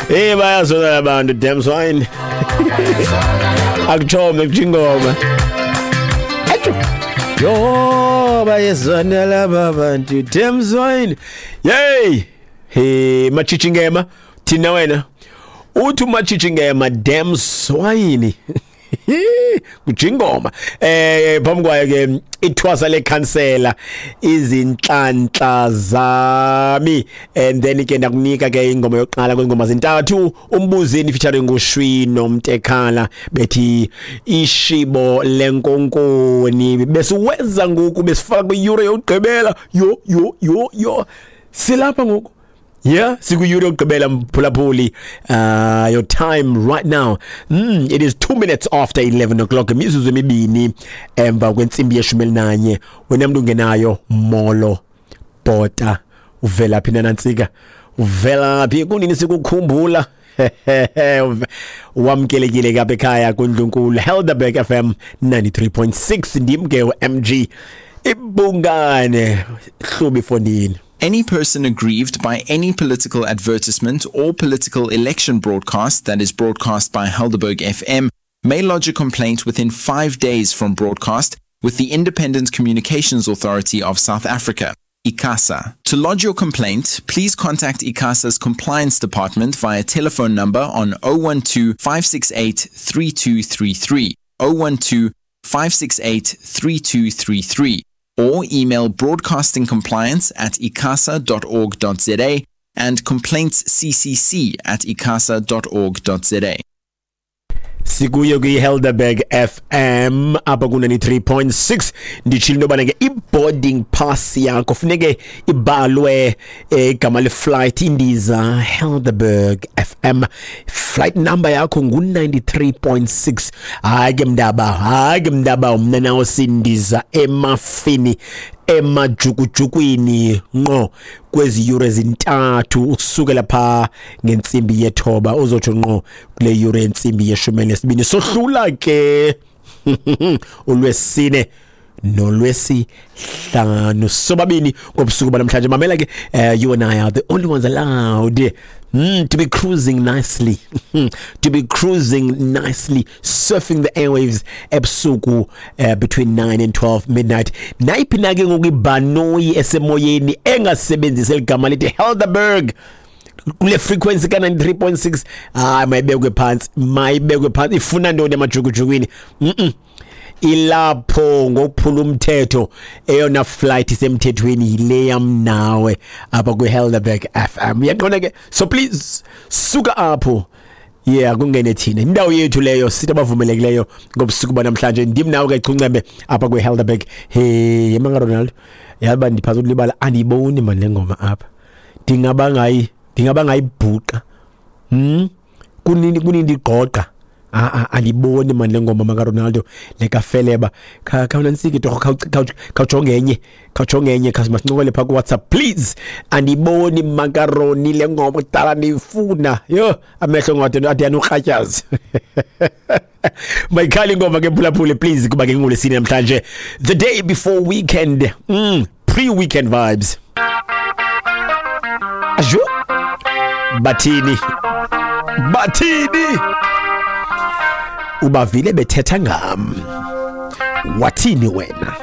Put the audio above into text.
Hey, bayazona abantu, damn swine. Akuchome kujingoma. Achu. Yo, bayazona laba bantu, damn swine. Yey. Hey, machichingema thina wena. Uthi umachichingema damn swine. Kujingoma. Phambi kwayo ke ithwasa lekhansela izinhlanhla zami, and then ke ndakunika ke ingoma yokuqala kwengoma zintathu, umbuzini featuring uShwi noMtekhala bethi ishibo lenkonkoni. Besiweza ngoku besifaka kwiyure yokugqibela. Yo yo yo yo, silapha ngoku. Yeah, sikuyure yokugqibela mphulaphuli. Your time right now, it is 2 minutes after 11 o'clock, imizuzu emibini emva kwentsimbi yeshumi elinanye. Wena mntu ungenayo, molo bhota, uvela phi nanantsika, uvela phi, kunini sikukhumbula? Wamkelekile kapha ekhaya kundlunkulu Helderberg FM 93.6. Ndim ke uMG ibungane hlubi fondini. Any person aggrieved by any political advertisement or political election broadcast that is broadcast by Helderberg FM may lodge a complaint within 5 days from broadcast with the Independent Communications Authority of South Africa, ICASA. To lodge your complaint, please contact ICASA's Compliance Department via telephone number on 012 568 3233, 012 568 3233, or email broadcastingcompliance@icasa.org.za and complaintsccc@icasa.org.za. Sikuyo kwi-Helderberg FM apha ku-93.6. Nditshilo into yobana ke i-boarding pass yakho funeke ibhalwe igama le-flight, indiza Helderberg FM, flight number yakho ngu-93.6. Hayi ke mndaba, hayi ke mndaba, mna nawo sindiza emafini emajukujukwini ngqo kwezi yure zintathu, ukusukela pha ngentsimbi yethoba uzotsho ngqo kule yure yentsimbi yeshumi elinesibini. Sohlula ke ulwesine nolwesihlanu sobabini ngobusuku banamhlanje. Mamela ke, you and I are the only ones allowed to be cruising nicely, to be cruising nicely, surfing the airwaves ebusuku between 9 and 12 midnight. Nayiphi na ke ngoku ibhanoyi esemoyeni engasebenzisi eligama lithi Helderberg kule frequency ka 93.6, hayi, mayibekwe phansi, mayibekwe phansi. Ifuna ntoni emajukujukwini? Ilapho ngokuphula umthetho. Eyona flight isemthethweni yile yam nawe apha kwi-Helderberg FM, uyaqonda ke? So please suka apho, yeah, kungene thina, indawo yethu leyo, sithi abavumelekileyo ngobusuku banamhlanje. Ndim nawe ke Chuncembe apha kwi-Helderberg. Hey, yemanga Ronaldo, yaba ndiphantsi ukulibala, andiyiboni mani le ngoma apha. Ndingaba ngayibhuqa, Kunini kunini ndigqogqa? Ah, andiboni mani le ngoma maka Ronaldo lekafeleba. Khawunansike torho, khawujonge enye, khawujonge enye, masincokole phaa kuWhatsApp please. Andiboni makaroni le ngoma, kudala ndiyifuna. Yho, amehlo ngade ade anorhatyazi. Mayikhali ingoma ke mphulaphuli please, kuba ke ngolwesine namhlanje, the day before weekend, pre-weekend vibes. Ajo, bathini, bathini, ubavile bethetha ngam, wathini wena?